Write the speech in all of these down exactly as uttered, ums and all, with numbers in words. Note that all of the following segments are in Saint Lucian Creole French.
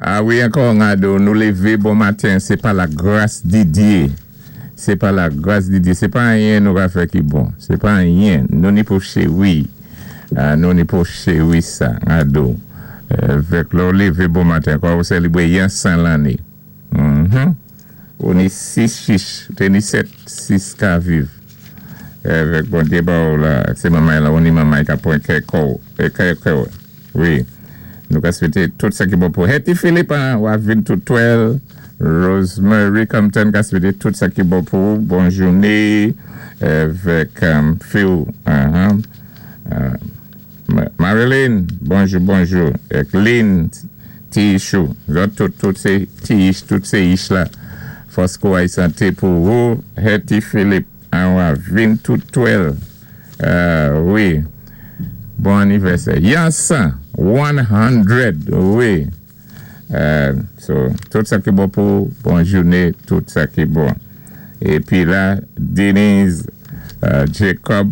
A wi, ankò gado, nou lévé bon maten, sé pa la gras di Diyé. Sé pa la gras di Diyé. Sé pa anyen nou ka fè ki bon. Sé pa anyen. Nou ni pou chéwi. Ah, nou ni pou chéwi sa, gado. Vèk lè ou lévé bon maten, kwa ou sélébwé yon san lanné. Mm-hmm. Ou ni sis chich, té ni sèt, sis ka viv. Vèk Bondyé ba ou la, sé manmay la, ou ni manmay ka pwan kè kou, kè kou. Wi. Nou ka swété tout sa ki bon pou Hetty Philippe, wap vin tout twèl. Rosemary Compton ka swété tout sa ki bon pou. Bon jouné. Vèk Phil. Marilyn, bonjou, bonjou. Ek Lynn, Ti Ishou. Tout, tout sé ti ich, tout sé ich la. Fòs kouway santé pou ou. Hetty Philippe, an wap vin tout twèl. Wi. Bon anivèsè. Yansan, one hundred, wi. So, tout sa ki bon pou, bon jouné, tout sa ki bon. Épi la, Denise, Jacob,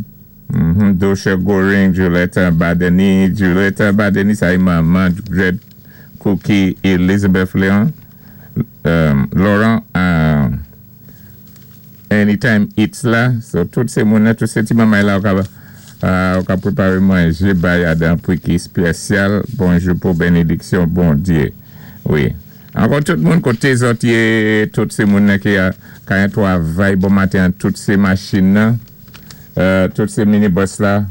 Dosha Goring, Julietta Badeni, Julietta Badeni, sa i manman, Red Cookie, Elizabeth Leon, Laurent, Anytime Eats la. So, tout sé moun, tout sé ti manmay la ou ka pwéparé manjé bay adan pou ki spésyal. Bonjou pou bénédiksyon Bondyé. Wi. Ankò tout moun koté zòt yé, tout sé moun ki ka yon twavay bon maten, tout sé machin nan, tout sé minibus la,